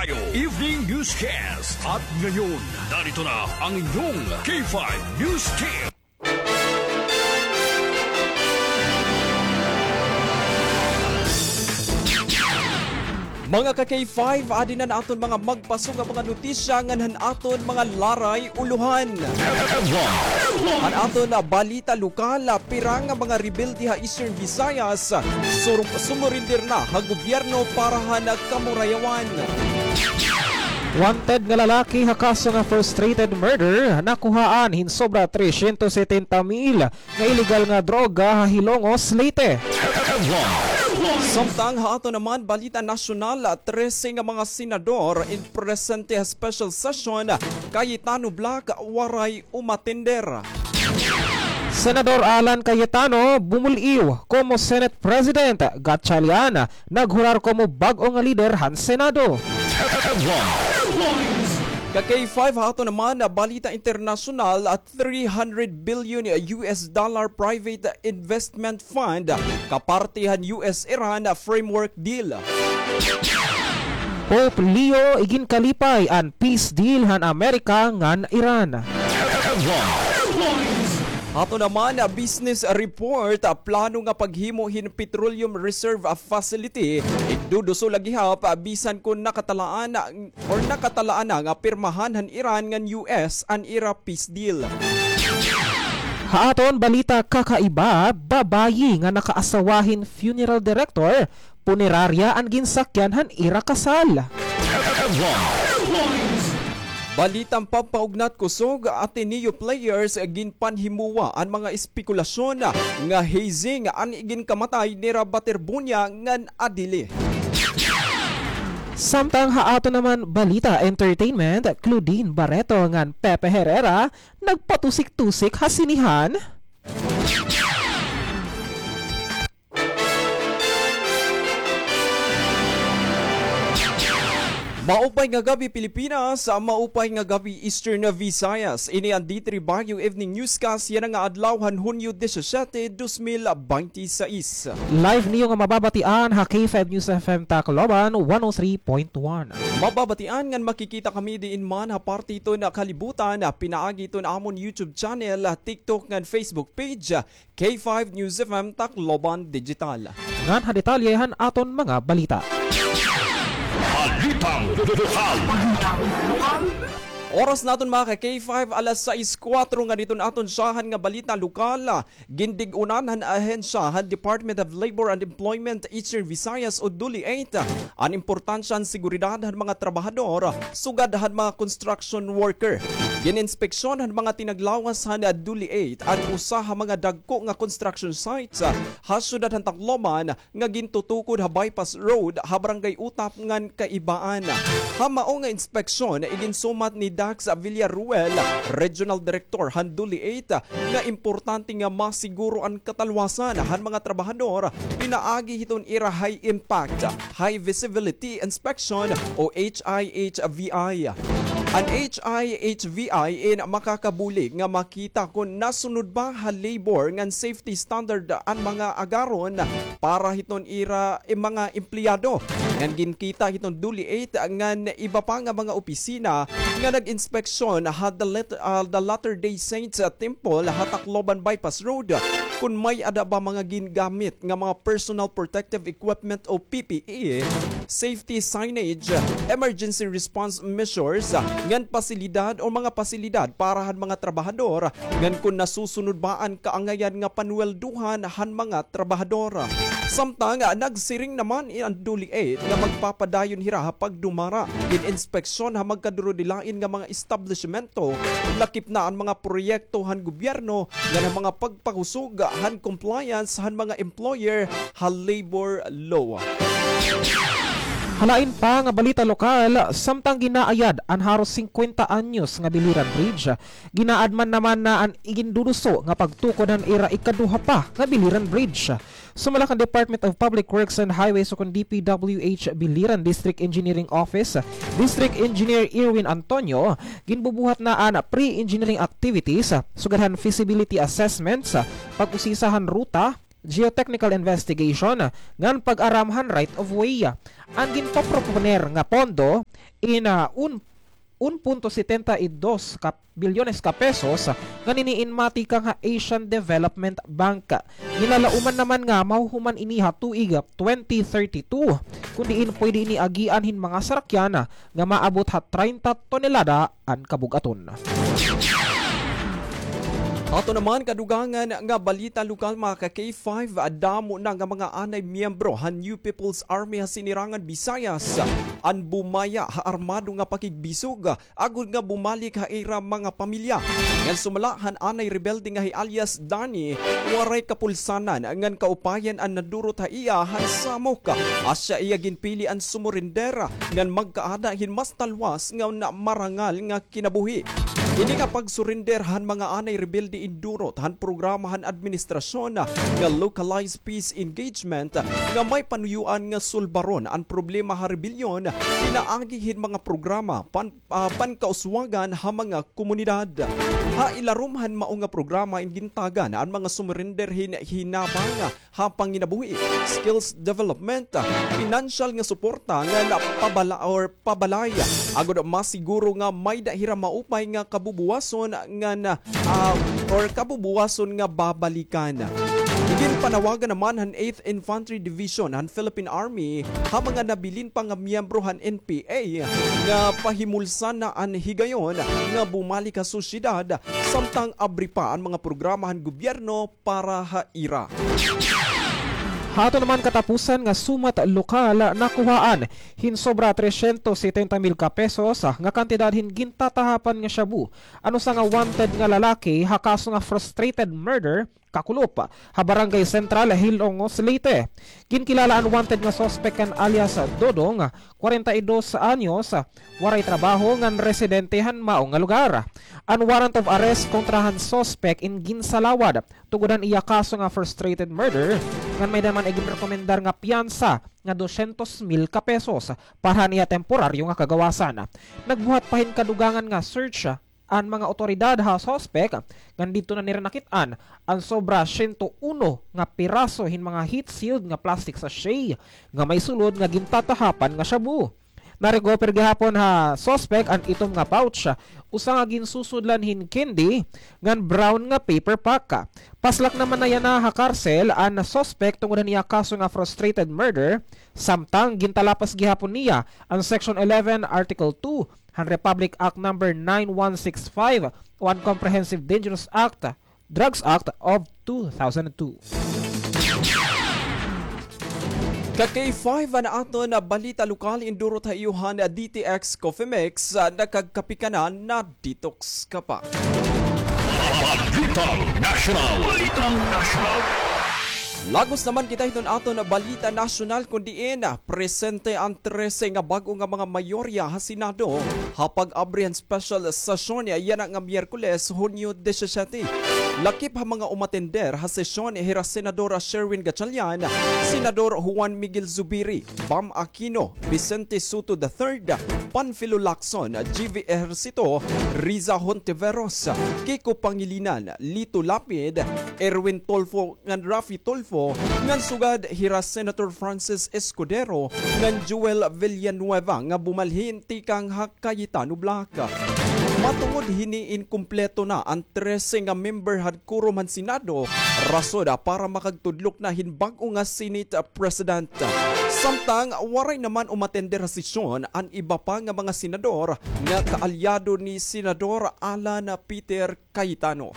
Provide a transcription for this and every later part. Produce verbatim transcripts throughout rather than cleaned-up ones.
Evening Newscast. At ngayon, narito na ang inyong K five News Team. Mga ka-K five, adi na an aton mga magpaso nga mga notisya ngan han aton mga laray ulohan. An aton balita lokal, pira nga mga rebelde ha Eastern Visayas, sur-, sumurender na ha gobyerno para han kamurayawan. Wanted nga lalaki ha kaso nga frustrated murder, nakuhaan hin sobra tresyentos setenta mil nga iligal nga droga ha Hilongos, Leyte. Samtang ha aton naman balita nasyonal, trese nga mga senador in presente ha special session, Cayetano bloc, waray umatender. Senador Alan Cayetano bumul-iw komo Senate President, Gatchalian naghurar komo bag-o nga lider han Senado. Ka-K five, ha aton naman balita internasyonal, three hundred billion U S dollar private investment fund kaparte han U S-Iran framework deal. Pope Leo iginkalipay an peace deal han Amerika ngan Iran. Ato naman, business report, plano nga paghimo hin petroleum reserve facility, igduduso la gihap bisan kon nakatalaan or nakatalaan na nga pirmahan han Iran ngan U S an ira peace deal. Ha aton balita kakaiba, babayi nga nakaasawa hin funeral director, punerarya an ginsakyan han ira kasal. Balitang pampaugnat kusog, Ateneo players ginpanhimuwa an mga espekulasyon nga hazing an iginkamatay nira Baterbunya ngan Adili. Samtang ha aton naman balita entertainment, Claudine Barreto ngan Pepe Herrera nagpatusik-tusik ha sinehan. Maupay nga gab-i, Pilipinas. Maupay nga gab-i, Eastern Visayas. Ini an D three Baguio Evening Newscast yana nga adlaw han Hunyo disisiete, dos mil binte y seis. Live niyo nga mababatian ha K five News F M Tacloban, one oh three point one. Mababatian ngan makikita kami diin man ha parte hiton kalibutan, pinaagi hiton amon YouTube channel, TikTok ngan Facebook page, K five News F M Tacloban Digital. Ngan ha detalye han aton mga balita. Balitang lokal. Oras naton, mga ka-K five, alas sais kuwatro. Ngan iton aton syahan nga balita lokal, gindig-unan han ahensya han Department of Labor and Employment Eastern Visayas o DOLEate an importansya han seguridad han mga trabahador sugad han mga construction worker. Gin-inspeksyon han mga tinaglawas han DOLEate an usa ha mga dagko nga construction sites ha syudad han Tacloban nga gintutukod ha bypass road ha Barangay Utap ngan kaibaan. Ha mao nga inspeksyon, iginsumat ni Dax Villaruel, Regional Director han DOLEate, nga importante nga masiguro an katalwasan han mga trabahador pinaagi hiton ira high impact, high visibility inspection o H I H V I. An H I H V I in makakabulig nga makita kon nasunod ba ha labor ngan safety standard an mga agaron para hiton ira, eh, mga empleyado. Ngan ginkita hiton DOLEate ngan iba pa nga mga opisina nga nag-inspeksyon ha the Let-, ah, the Latter-day Saints, ah, Temple ha Tacloban Bypass Road kon may-ada ba mga gingamit nga mga personal protective equipment o P P E, safety signage, emergency response measures, ngan pasilidad o mga pasilidad para han mga trabahador, ngan kon nasusunod ba an kaangayan nga panweldohan han mga trabahador. Samtang, ah, nagsiring naman an DOLEate nga magpapadayon hira ha pagdumara, gin-inspeksyon ha magkadurudilain nga mga establishmento, lakip na an mga proyekto han gobyerno ngan an mga pagpakusog han compliance han mga employer ha labor law. Ha lain pa nga balita lokal, samtang ginaayad an haros singkwenta anyos nga Biliran Bridge, ginaad man naman na an iginduduso nga pagtukod han ira ikaduha pa nga Biliran Bridge. Sumala kan Department of Public Works and Highways ukon D P W H Biliran District Engineering Office, District Engineer Irwin Antonio, ginbubuhat na an pre-engineering activities, sugad han feasibility assessments, pag-usisa han ruta, geotechnical investigation, ngan pag-aram han right of way. An ginpaproponer nga pondo, in, ah, un, un punto setenta y dos ka bilyones ka pesos nga nini in matikang ha Asian Development Bank. Ginlalauman naman nga mahuhuman ini ha tuig twenty thirty-two, kun diin pwede ini agian hin mga sarakyan nga maabot ha treinta tonelada an kabug-aton. Ato naman kadugangan nga balita lokal, mga ka-K five, damo na nga mga anay miyembro han New People's Army ha Sinirangan Visayas an bumaya ha armado nga pakigbisog agod nga bumalik ha ira mga pamilya. Ngan sumala han anay rebelde nga hi alias Danny, waray kapulsanan ngan kaupayan an nadurot ha iya han samok. Asya iya ginpili an sumurender ngan magkaada hin mas talwas ngan marangal nga kinabuhi. Ini nga pagsurender han mga anay rebelde indurot han programa han administrasyon nga Localized Peace Engagement nga may panuyoan nga sulbaron an problema ha rebelyon pinaagi hin mga programa pan, ah, pankauswagan ha mga komunidad. Ha ilarom han mao nga programa in gintagan an mga sumurender hin hinabang ha panginabuhi, skills development, pinansyal nga suporta ngan pabala or pabalay, agod masiguro nga may-ada hira maupay nga kabubuwason ngan, ah, or kabubuwason nga babalikan. Ginpanawagan naman han Eighth Infantry Division han Philippine Army ha mga nabilin pa nga miyembro han N P A nga pahimulsan na an higayon nga bumalik ha sosyedad, samtang abri pa an mga programa han gobyerno para ha ira. Ha aton naman katapusan nga sumat lokal, nakuhaan hin sobra tresyentos setenta mil ka pesos nga kantidad hin gintatahapan nga shabu an usa nga wanted nga lalaki ha kaso nga frustrated murder, kakulop, ha Barangay Central, Hilongos, Leyte. Ginkilala an wanted nga suspek kan alias Dodong, kwarenta y dos anyos, waray trabaho ngan residente han mao nga lugar. An warrant of arrest kontra han suspek in ginsalawad tungod han iya kaso nga frustrated murder, ngan may-ada man iginrekomendar nga piyansa nga dosyentos mil ka pesos para han iya temporaryo nga kagawasan. Nagbuhat pa hin kadugangan nga search an mga awtoridad ha suspek, ngan didto na nira nakit-an an sobra siyento uno nga piraso hin mga heat-sealed nga plastic sachet nga may sulod nga gintatahapan nga shabu. Na-recover gihapon ha suspek an itom nga pouch, usa nga ginsusudlan hin candy, ngan brown nga paper pack. Paslak naman na yana ha karsel an suspek tungod han iya kaso nga frustrated murder, samtang gintalapas gihapon niya an Section eleven, Article two han Republic Act Number nine one six five o an Comprehensive Dangerous Act, Drugs Act of two thousand two. Ka K five, an aton balita lokal, indurot ha iyo han D T X Coffee Mix, ah, nakagkape ka na, na-detox ka pa. Balitang Nasyonal. Balitang Nasyonal. Lagos naman kita hiton aton balita nasyonal, kun diin, ah, presente an trese nga bag-o nga mga mayorya ha Senado ha pag-abri han special session yana nga Miyerkules, Hunyo disisyete. Lakip ha mga umatender ha sesyon hira Senadora Sherwin Gatchalian, Senador Juan Miguel Zubiri, Bam Aquino, Vicente Sotto the third, Panfilo Lacson, G V Ejercito, Riza Hontiveros, Kiko Pangilinan, Lito Lapid, Erwin Tulfo ngan Raffy Tulfo, ngan sugad hira Senator Francis Escudero ngan Joel Villanueva nga bumalhin tikang ha Cayetano Block. Matungod hini, inkumpleto na an trese nga member han quorum han Senado, rason para makagtudlok na hin bag-o nga Senate President. Samtang waray naman umatender ha sesyon an iba pa nga mga senador nga kaalyado ni Senador Alan Peter Cayetano.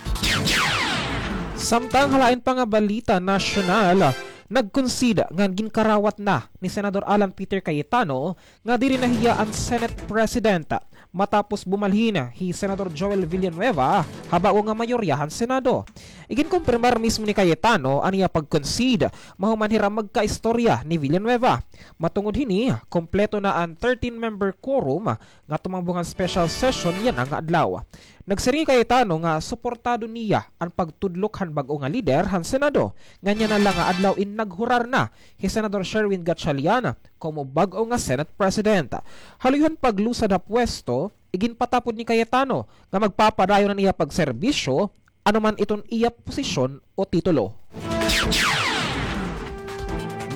Samtang ha lain pa nga balita nasyonal, nag-concede ngan ginkarawat na ni Senador Alan Peter Cayetano nga diri na hiya an Senate President matapos bumalhin hi Senador Joel Villanueva ha bag-o nga mayorya han Senado. Iginkumpirmar mismo ni Cayetano an iya pag-concede mahuman hira magkaistorya ni Villanueva. Matungod hini, kompleto na an thirteen-member quorum nga tumambong han special session yana nga adlaw. Nagsiring hi Cayetano nga suportado niya an pagtudlok han bag-o nga lider han Senado, ngan yana la nga adlaw in naghurar na hi Senador Sherwin Gatchalian komo bag-o nga Senate President. Haluy han paglusad ha pwesto, iginpatapod ni Cayetano nga magpapadayon an iya pagserbisyo ano man iton iya posisyon o titulo.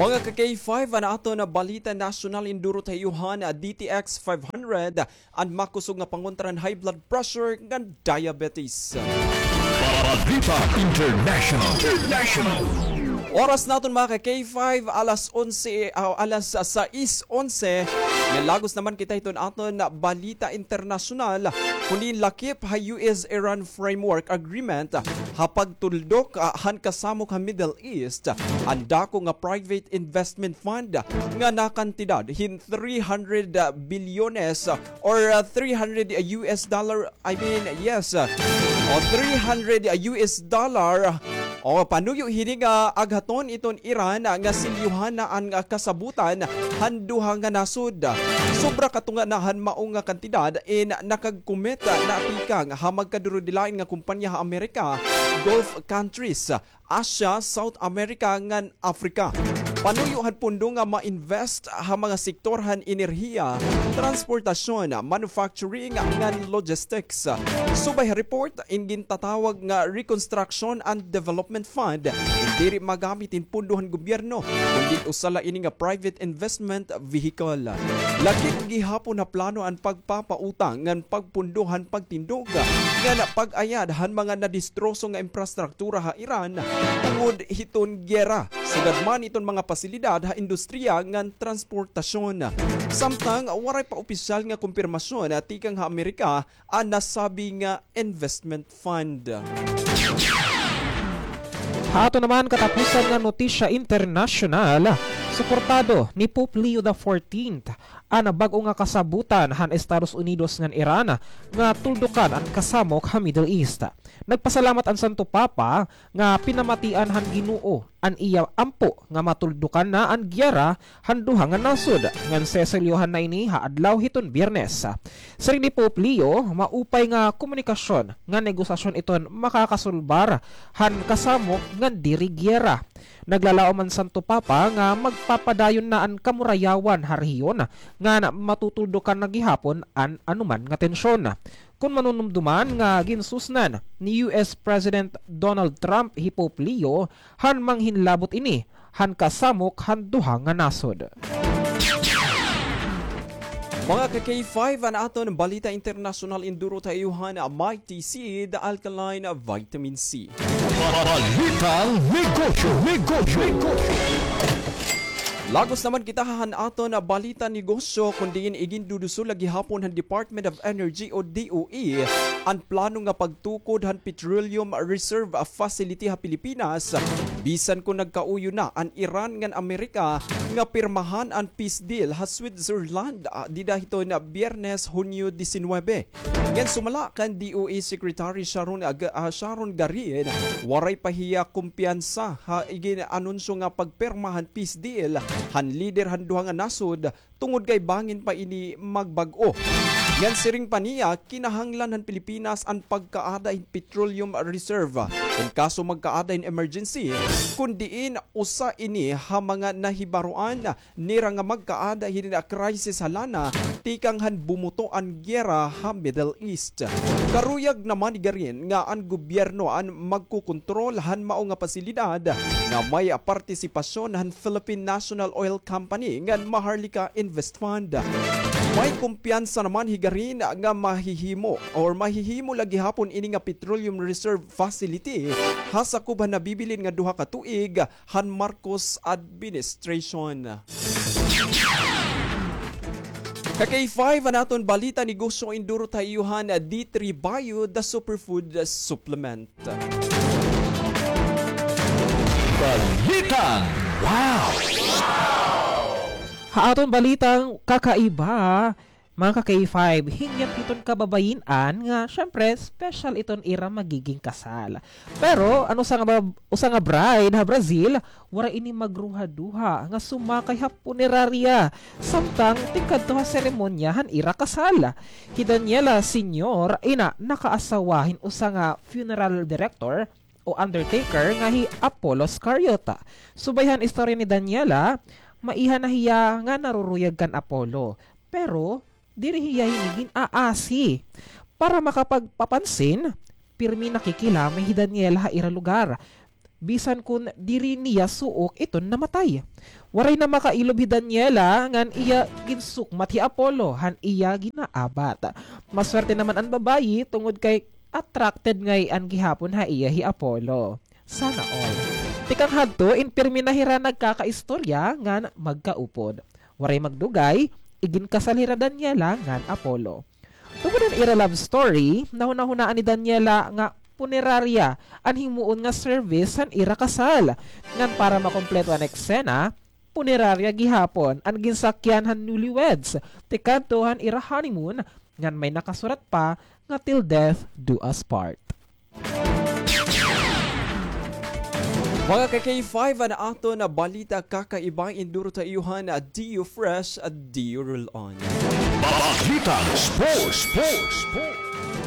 Mga ka-K five, an aton balita nasyonal, indurot ha iyo han D T X five hundred, an makusog nga pangontra han high blood pressure ngan diabetes. Balita International. International. Oras naton, mga ka-K five, alas onse, ah, alas sais onse. Nalagos naman kita hiton aton balita internasyonal. Kundi lakip ha U S Iran Framework Agreement ha pagtuldok, ah, han kasamok ha Middle East, an dako nga private investment fund nga nakantidad hin three hundred bilyones, ah, or, ah, three hundred U S dollar, I mean, yes, ah, o three hundred U S dollar. O, panuyo hini nga aghaton iton Iran nga silyohan na an, ah, kasabutan han duha nga nasod. Sobra katunga na han mao nga kantidad in nakag-commit na tikang ha magkadurudilain nga kompanya ha Amerika, Gulf countries, Asia, South America, ngan Africa. Panuyo han pondo nga ma-invest ha mga sektor han enerhiya, transportasyon, manufacturing, ngan logistics. Subay ha report, in gintatawag nga Reconstruction and Development Fund, diri magamit in pondo han gobyerno, kundi usa la ini nga private investment vehicle. Lakip gihapon ha plano an pagpapautang ngan pagpondo han pagtindog ngan pag-ayad han mga nadistroso nga infrastruktura ha Iran tungod hiton giyera. Sugad man iton mga pasilidad ha industriya ngan transportasyon. Samtang waray pa opisyal nga kumpirmasyon tikang ha Amerika an nasabi nga investment fund. Ha aton naman katapusan nga notisya internasyonal, suportado ni Pope Leo the fourteenth an bag-o nga kasabutan han Estados Unidos ngan Iran nga tuldukan an kasamok ha Middle East. Nagpasalamat an Santo Papa nga pinamatian han Ginoo an iya ampo nga matuldukan na an giyera han duha nga nasod, ngan seselyohan na ini ha adlaw hiton Biyernes. Siring ni Pope Leo, maupay nga komunikasyon ngan negosasyon iton makakasulbar han kasamok ngan diri giyera. Naglalaom an Santo Papa nga magpapadayon na an kamurayawan ha rehiyon ngan matutuldukan na gihapon an anuman nga tensyon. Kon manunumduman nga ginsusnan ni U S President Donald Trump hi Pope Leo han manghinlabot ini han kasamok han duha nga nasod. Mga ka-K five, an aton balita internasyonal, indurot ha iyo han Mighty Seed Alkaline Vitamin C. Balitang negosyo, negosyo, negosyo. Lagos naman kita han aton balita negosyo, kon diin igindudusol la gihapon han Department of Energy o D O E an plano nga pagtukod han petroleum reserve facility ha Pilipinas, bisan kon nagkauyo na an Iran ngan Amerika nga pirmahan an peace deal ha Switzerland, ah, dida hiton Biyernes, Hunyo disinwebe. Ngan sumala kan D O E Secretary Sharon Ag-, ah, Sharon Garin, waray pa hiya kumpiyansa ha igin-anunsyo nga pagpirma han peace deal han lider han duha nga nasod, tungod kay bangin pa ini magbag-o. Ngan siring pa niya, kinahanglan han Pilipinas an pagkaada hin petroleum reserve in kaso magkaada hin emergency, kon diin usa ini ha mga nahibaroan nira nga magkaada hini nga crisis ha lana tikang han bumuto an giyera ha Middle East. Karuyag naman ni Garin nga an gobyerno an magkokontrol han mao nga pasilidad nga may partisipasyon han Philippine National Oil Company ngan Maharlika Invest Fund. May kumpiyansa naman hi Garin nga mahihimo or mahihimo la gihapon ini nga petroleum reserve facility ha sakob han nabibilin nga duha ka tuig han Marcos administration. Ka-K five, an aton balita negosyo, indurot ha iyo han D three Bio, the superfood supplement. Balitang wow! Ha aton balitang kakaiba, mga ka-K five, hingyap hiton kababayin-an nga, syempre, special iton ira magiging kasal. Pero, an usa nga ba-, usa nga bride ha Brazil, waray ini magruhaduha nga sumakay ha punerarya, samtang tingkadto ha seremonya han ira kasal. Hi Daniela Senior, ina nakaasawa hin usa nga funeral director o undertaker nga hi Apollo Scariota. Subay han istorya ni Daniela, maiha na hiya nga naruruyag kan Apollo. Pero, diri hiya hini gin-aasi. Para makapagpapansin, pirmi nakikilamay hi Daniela ha ira lugar. bisan kon diri niya suok iton namatay. Waray na makailob hi Daniela ngan iya ginsukmat hi Apollo han iya ginaabat. Maswerte naman an babayi tungod kay attracted ngay-an gihapon ha iya hi Apollo. Sana all. Tikang hadto, in pirmi na hira nagkakaistorya ngan magkaupod. Waray magdugay, iginkasal hira Daniela ngan Apollo. Tungod han ira love story, nahunahunaan ni Daniela nga punerarya an himuon nga service han ira kasal. Ngan para makompleto an eksena, punerarya gihapon an ginsakyan han newlyweds tikadto han ira honeymoon, ngan may nakasurat pa nga, "Till death do us part." Mga ka-K five, an aton balita kakaiba, induro ta iyo han D U Fresh, D U Roll On. Balitang sports, sports, sports.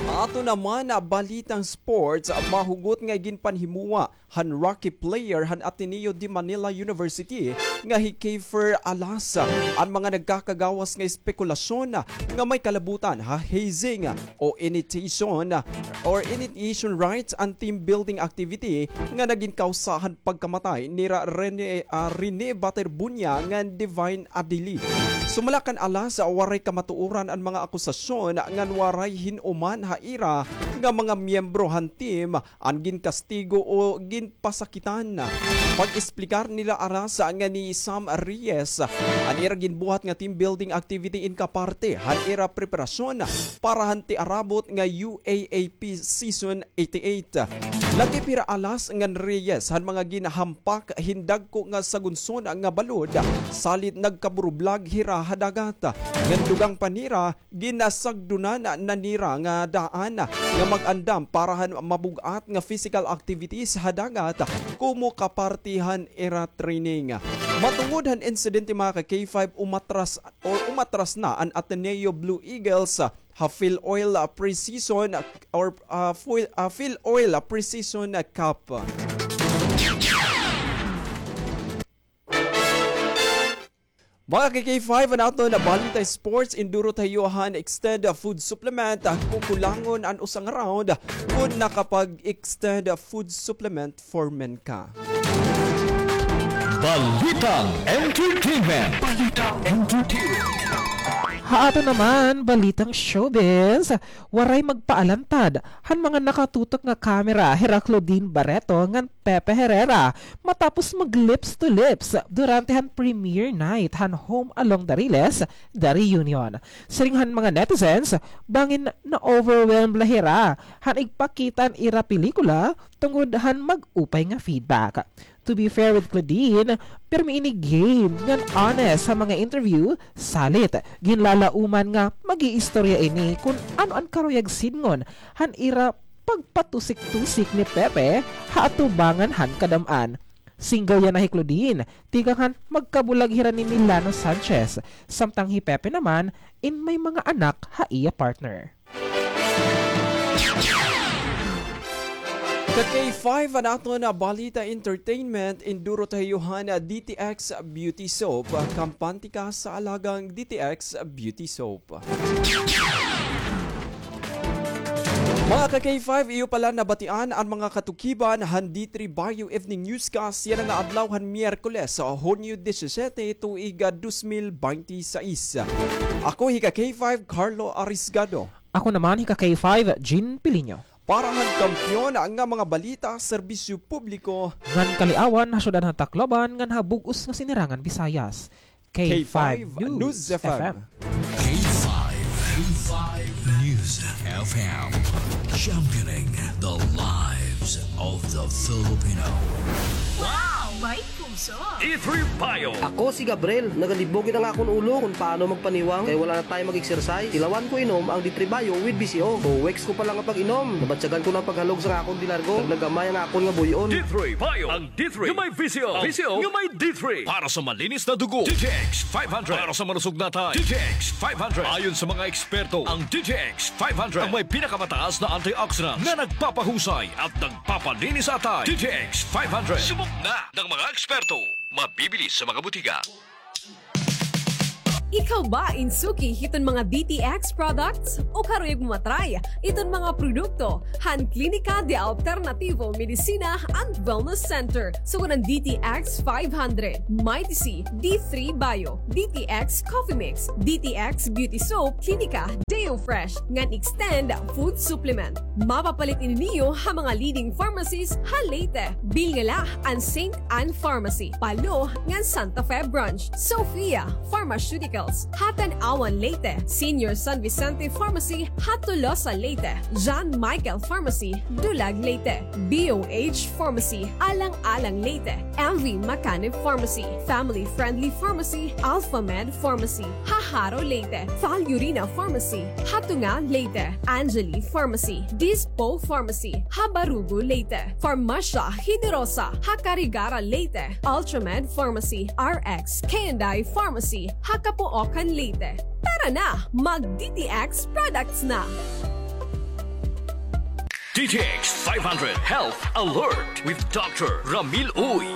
Ato naman na balitang sports, mahugot nga ginpanhimuwa han rookie player han Ateneo de Manila University nga hi Keifer Alas an mga nagkakagawas nga espekulasyon nga may kalabutan ha hazing o initiation or initiation rites an team building activity nga nagin kawsa han pagkamatay nira Rene, ah, Rene Baterbunya ngan Divine Adili. Sumala kan Alas, waray kamatuoran an mga akusasyon ngan waray hin-uman ha ira nga mga miyembro han team an ginkastigo o ginpasakitan. Pag-esplikar nira Alas ngan ni Sam Reyes, an ira ginbuhat nga team building activity in kaparte han ira preparasyon para han tiarabot nga U A A P season eighty-eight. Lakip hira Alas ngan Reyes han mga ginhampak hin dagko nga sagunson nga balod, salit nagkaburublag hira ha dagat. Ngan dugang pa nira, ginasagdunan na nira nga daan nga mag-andam para han mabug-at nga physical activities ha dagat komo kaparti han ira training. Matungod han insidente, mga ka-K five, umatras or umatras na an Ateneo Blue Eagles ha Phil Oil Pre-Season or, ah, Phil, ah, Phil Oil Pre-Season Cup. Mga ka-K five, an aton balita sports, induro ta iyo han extend food supplement. Kukulangon an usa nga round kon nakapag-extend food supplement for men ka. Balitang entertainment. Balitang entertainment. Ha aton naman balitang showbiz, waray magpaalantad han mga nakatutok nga kamera hira Claudine Barreto ngan Pepe Herrera matapos mag-lips to lips durante han premiere night han Home Along the Riles, The Reunion. Siring han mga netizens, bangin na-overwhelmed la hira han igpakita an ira pelikula tungod han mag-upay nga feedback. To be fair with Claudine, pirmi ini game ngan honest ha mga interview, salit ginlalauman nga mag-iistorya ini kon ano an karuyag sidngon han ira pagpatusik-tusik ni Pepe ha atubangan han kadam-an. Single yana hi Claudine, tikang han magkabulag hira ni Milano Sanchez, samtang hi Pepe naman in may mga anak ha iya partner. Ka-K five, an aton balita entertainment, induro ta iyo han D T X Beauty Soap. Kampante ka sa alagang D T X Beauty Soap. Mga ka-K five, iyo pala nabatian an mga katukiban han D three Bayo Evening Newscast yana nga adlaw han Miyerkules, Hunyo disisete, tuig, ah, dos mil binte y seis. Ako hi ka-K five, Carlo Arisgado. Ako naman hi ka-K five, Jean Piliño. Para han kampiyon nga mga balita, serbisyo publiko, ngan kaliawan ha syudad han Tacloban ngan ha bug-os nga Sinirangan Visayas. K five News F M. K five, K five News F M. Championing the lives of the Filipino. Wow! May puso! D three Bio. Ako si Gabriel. Nagalibog it an akon ulo kon paano magpaniwang kay wala na time mag-exercise. Tilawan ko inom ang D three Bio with V C O. Two weeks ko pa lang nga pag-inom, nabatyagan ko na an paghalog sa akon dilargo. Naglagamay ang akon nga buy-on. D three Bio. Ang D three nga may V C O. V C O nga may D three. Para sa malinis na dugo, D T X five hundred. Para sa malusog na atay, D T X five hundred. Ayon sa mga eksperto, ang D T X five hundred ang may pinakamataas na antioxidants na nagpapahusay at nagpapalinis sa atay. D T X five hundred. Subok na ng mga eksperto. Mabibili sa mga butika. Ikaw ba in suki hiton mga D T X products? O karuyag mo matry iton mga produkto han Klinika de Alternativo Medicina and Wellness Center? Sugad han D T X five hundred, Mighty C, D three Bio, D T X Coffee Mix, D T X Beauty Soap, Klinika Deo Fresh, ngan Extend Food Supplement. Mapapalit ini niyo ha mga leading pharmacies ha Leyte. Bilngala an Saint Anne Pharmacy, Palo, ngan Santa Fe Branch. Sophia Pharmaceuticals, ha Tanauan, Leyte. Senior San Vicente Pharmacy, ha Tolosa, Leyte. John Michael Pharmacy, Dulag, Leyte. B O H Pharmacy, Alang-alang, Leyte. M V Macanib Pharmacy, Family Friendly Pharmacy, Alpha Med Pharmacy, ha Jaro, Leyte. Valurina Pharmacy, ha Tunga, Leyte. Angeli Pharmacy, Dispo Pharmacy, ha Barugo, Leyte. Farmacia Generosa, ha Carigara, Leyte. Ultramed Pharmacy, R X K and I Pharmacy, ha Capoocan, Leyte. Tara na, mag D T X products na! D T X five hundred Health Alert with Doctor Ramil Uy.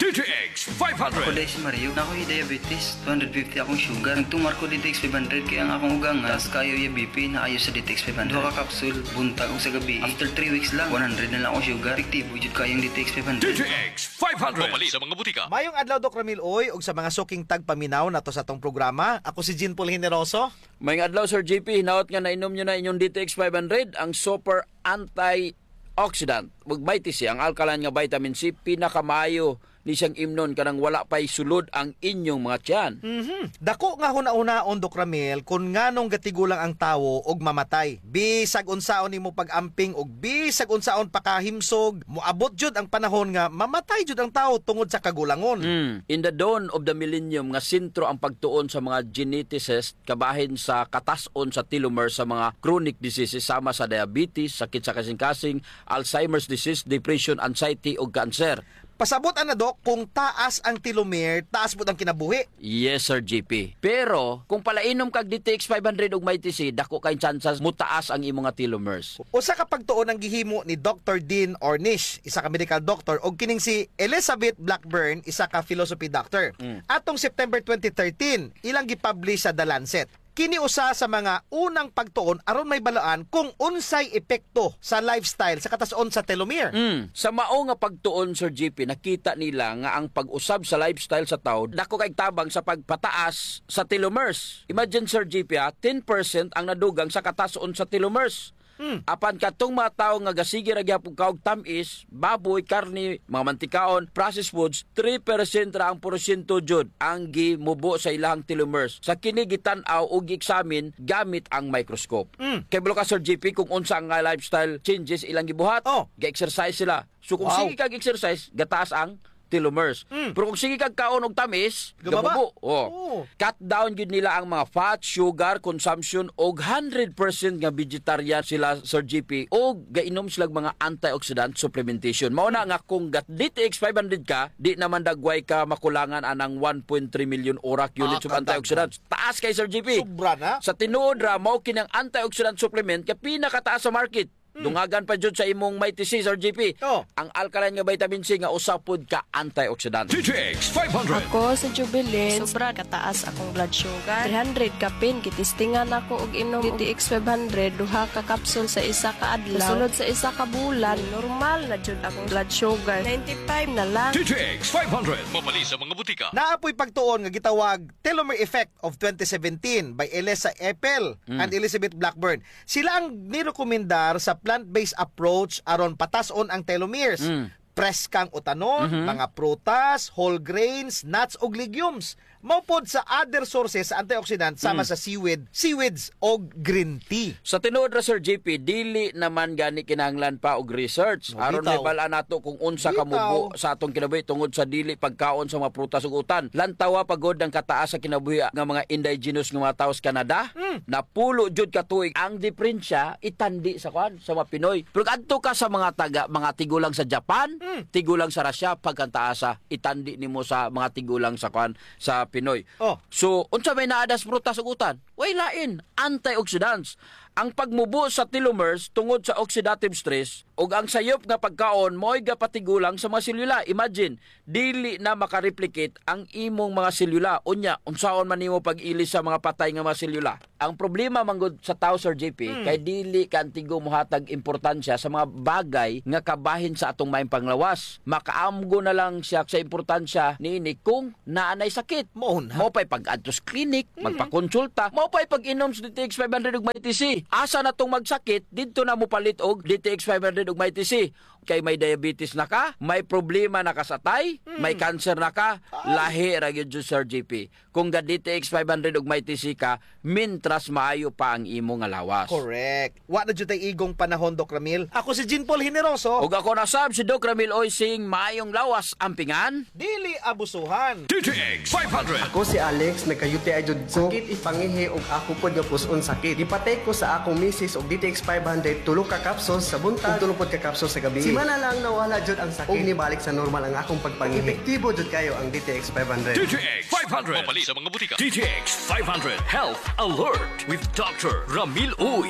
D T X five hundred. Ako diay si Mario, naa ko hi diabetes, two hundred fifty akong sugar. Nagtumar ko D T X five hundred kay ang akong ugangan, taas kaayo iya B P, naayo sa D T X five hundred. Duha ka capsule, buntag ug sa gabii. After three weeks lang, one hundred na lang akong sugar. Epektibo jud kaayo ang D T X five hundred. D T X five hundred. Mapalit sa mga butika. Mayong adlaw, Doc Ramil Uy, ug sa mga suking tagpaminaw nato sa atong programa. Ako si Jean Paul Generoso. Mayong adlaw, Sir G P. Hinaot nga nainom niyo na inyong D T X five hundred, ang super antioxidant. Ug Mighty C, ang alkaline nga vitamin C, pinakamaayo ni siyang imnon kanang wala pa'y sulod ang inyong mga tiyan. Mhm. Dako nga hunahunaon, Doc Ramil, kun nganong gatigulang ang tawo og mamatay. Bisag unsaon nimo pag-amping ug bisag unsaon pa kahimsog, moabot jud ang panahon nga mamatay jud ang tawo tungod sa kagulangon. Mm. In the dawn of the millennium, nga sentro ang pagtuon sa mga geneticist kabahin sa katas-on sa telomere sa mga chronic diseases sama sa diabetes, sakit sa kasingkasing, Alzheimer's disease, depression, anxiety, ug cancer. Pasabot ana, Doc, kung taas ang telomere, taas pud ang kinabuhi. Yes, Sir G P. Pero kung palainom kag D T X five hundred ug Mighty C, dako kay tsansas mutaas ang imo nga telomeres. Usa ka pagtuon ang gihimo ni Doctor Dean Ornish, isa ka medical doctor, ug kining si Elizabeth Blackburn, isa ka philosophy doctor. Mm. Atong September twenty thirteen, ilang gipublish sa The Lancet. Kini usa sa mga unang pagtuon aron mahibaloan kung unsay epekto sa lifestyle sa katas-on sa telomere. Mm. Sa mao nga pagtuon, Sir G P, nakita nila nga ang pag-usab sa lifestyle sa tawo dako kay tabang sa pagpataas sa telomeres. Imagine, Sir G P, ha, ten percent ang nadugang sa katas-on sa telomeres. Hmm. Apan katong mga tawo nga gasige ra gihapon kaon og tam-is, baboy, karne, mga mantikaon, processed foods, three percent ra ang porsyento jud ang gimubo sa ilahang telomeres. Sa kini gitan-aw o gi-examine gamit ang microscope. Hmm. Kay kabalo ka, Sir G P, kung unsa nga lifestyle changes ilang gibuhat. Oh. Ga-exercise sila. So kung sige kag exercise, gataas ang telomeres. Mm. Pero kung sige kag kaon og tamis, gamubo. Oh. Cut down gyud nila ang mga fat, sugar consumption, og hundred percent nga vegetarian sila, Sir G P, og gainom sila mga antioxidant supplementation. Mao na nga kung ga D T X five hundred ka, di naman dagway ka makulangan anang one point three million orak units of antioxidants. Taas kay, Sir G P. Sobra na. Sa tinuod ra, mao kini ang antioxidant supplement nga pinakataas sa market. Hmm. Dungagan pa jud sa imong Mighty C, Sir G P. Oh. Ang alkaline nga vitamin C nga usa pod ka antioxidant. D T X five hundred. Ako si Jubilin. Sobra kataas akong blood sugar. Three hundred kapin, gitistingan ako og inom D T X five hundred, duha ka capsule sa isa ka adlaw. Sa sulod sa isa ka bulan, normal na jud akong blood sugar. Ninety-five na lang. D T X five hundred. Mapalit sa mga butika. Naa poy pagtuon nga gitawag telomere effect of twenty seventeen by Elisa Epel and Elizabeth Blackburn. Sila ang nirekomendar sa plant-based approach aron patas-on ang telomeres. Mm. Preskang utanon, mga prutas, whole grains, nuts, ug legumes. Mao pod sa other sources sa antioxidant sama sa seaweed, seaweeds, og green tea. Sa tinuod ra, Sir G P, dili naman gani kinahanglan pa og research aron mahibal-an nato kung unsa kamubo sa atong kinabuhi tungod sa dili pagkaon sa mga prutas ug utan. Lantawa pa gud ang kataas sa kinabuhi nga mga indigenous nga mga tawo sa Canada. Mm. Napulo jud ka tuig. Ang diperensya, itandi sa kuan, sa mga Pinoy. Pero adto ka sa mga taga, mga tigulang sa Japan, tigulang sa Russia, pagkantaasa, itandi nimo sa mga tigulang sa kuan, sa Pinoy. Oh. So, unsa may naa dida sa prutas ug utan? Way lain, antioxidants. Ang pagmubo sa telomeres tungod sa oxidative stress ug ang sayop nga pagkaon mao'y gapatigulang sa mga selula. Imagine, dili na makareplicate ang imong mga selula. Unya, unsaon man nimo pag-ilis sa mga patay nga mga selula? Ang problema man gud sa tawo, Sir J P, kay dili ka antigo mohatag importansya sa mga bagay nga kabahin sa atong maayong panglawas. Makaamgo na lang siya sa importansya niini kung naa nay sakit. Mao na. Mao pa'y pag-adto sa klinik, magpakonsulta. Mao pa'y pag-inom sa D T X five hundred ug Mighty C. Asa na tong magsakit, didto na mopalit og D T X five hundred ug Mighty C. Kay may diabetes na ka, may problema na ka sa atay, may cancer na ka, lahi ra gyud, Sir J P. Kung ga-D T X five hundred ug Mighty C ka, mintras maayo pa ang imo nga lawas. Correct. Wa na jud tay igong panahon, Doc Ramil. Ako si Jean Paul Generoso. Ug ako na sab si Doc Ramil Oy, sing maayong lawas, ampingan. Dili abusuhan. D T X five hundred. Ako si Alex, nagka-U T I jud ko. Sakit ipangihi ug ako pod nga pus-on sakit. Gipatake ko sa akong misis og D T X five hundred, tulo ka capsules sa buntag ug tulo pod ka capsules sa gabii. Simana lang nawala jud ang sakit ug nibalik sa normal ang akong pagpangihi. Epektibo jud kayo ang D T X five hundred. D T X five hundred. Mapalit sa mga butika. D T X five hundred Health Alert with Doctor Ramil Uy.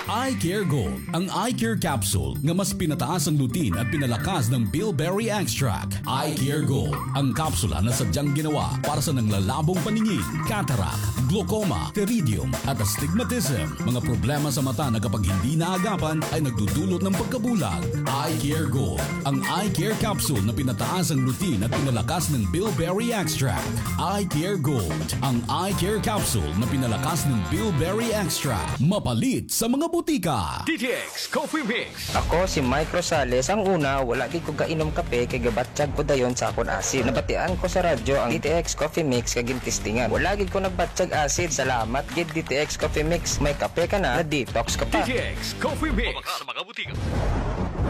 Eye Care Gold, ang eye care capsule nga mas pinataas ang lutein at pinalakas ng bilberry extract. Eye Care Gold, ang kapsula na sadyang ginawa para sa nanglalabong paningin, cataract, glaucoma, pteridium, at astigmatism. Mga problema sa mata na kapag hindi naagapan ay nagdudulot ng pagkabulag. Eye Care Gold, ang eye care capsule na pinataas ang lutein at pinalakas ng bilberry extract. Eye Care Gold, ang eye care capsule na pinalakas ng bilberry extract. Mapalit sa mga butika. D T X Coffee Mix. Ako si Mike Rosales. Ang una, wala gid ko gainom kape kay gabatyag ko dayon sa akon asid. Nabatian ko sa radyo ang D T X Coffee Mix kay gintestingan. Wala gid ko nagbatyag asid. Salamat gid D T X Coffee Mix. May kape ka na, na-detox ka pa. D T X Coffee Mix. Mabakal sa mga butika.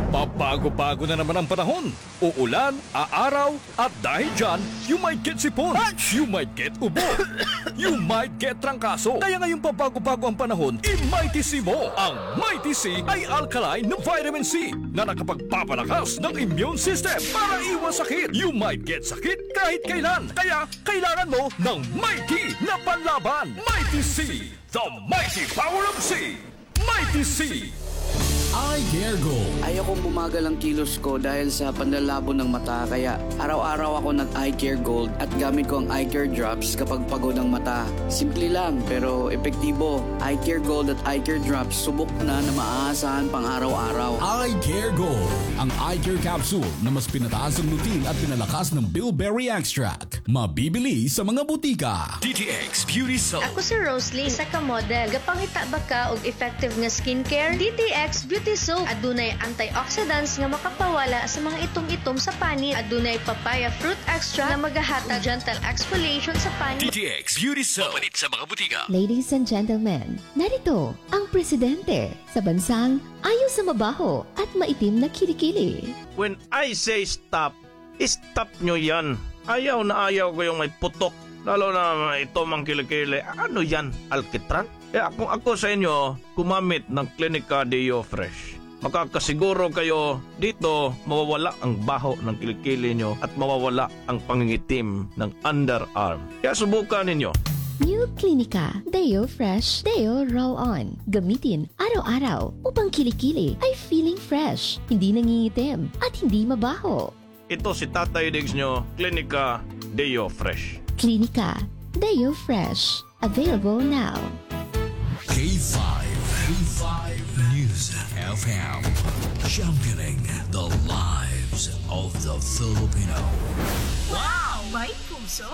Pabago-bago na naman ang panahon. Uulan, aaraw, at dahil dyan, you might get sipon, you might get ubo, you might get trangkaso. Kaya ngayong pabago-bago ang panahon, i-Mighty C mo. Ang Mighty C ay alkaline na vitamin C na nakapagpapalakas ng immune system para iwas sakit. You might get sakit kahit kailan. Kaya kailangan mo ng Mighty na panlaban. Mighty C, the mighty power of C. Mighty C. Eye Care Gold. Ayokong bumagal ang kilos ko dahil sa panlalabo ng mata, kaya araw-araw ako nag-Eye Care Gold at gamit ko ang Eye Care Drops kapag pagod ang mata. Simple lang, pero epektibo. Eye Care Gold at Eye Care Drops, subok na na maaasahan pang araw-araw. Eye Care Gold, ang eye care capsule na mas pinataas ang lutein at pinalakas ng bilberry extract. Mabibili sa mga butika. D T X Beauty Soap. Ako si Roslyn, isa ka model. Gapangita ba ka og effective nga skincare? D T X Beauty Soap. Adunay antioxidants nga makapawala sa mga itom-itom sa panit. Adunay papaya fruit extract nga magahatag gentle exfoliation sa panit. D T X Beauty Soap. Mapalit sa mga butika. Ladies and gentlemen, narito ang presidente sa bansang ayaw sa mabaho at maitim na kilikili. When I say stop, i-stop nyo yan. Ayaw na ayaw ko yung may putok. Lalo na may itom ang kilikili. Ano yan? Alkitran? Kaya kung ako sa inyo, gumamit ng Clinica Deo Fresh. Makakasiguro kayo dito mawawala ang baho ng kilikili nyo at mawawala ang pangingitim ng underarm. Kaya subukan ninyo. New Clinica Deo Fresh Deo Roll On. Gamitin araw-araw upang kilikili ay feeling fresh, hindi nangingitim, at hindi mabaho. Ito si Tatay Diggs nyo, Clinica Deo Fresh. Clinica Deo Fresh. Available now. K five, K five News F M, championing the lives of the Filipino. Wow! May puso!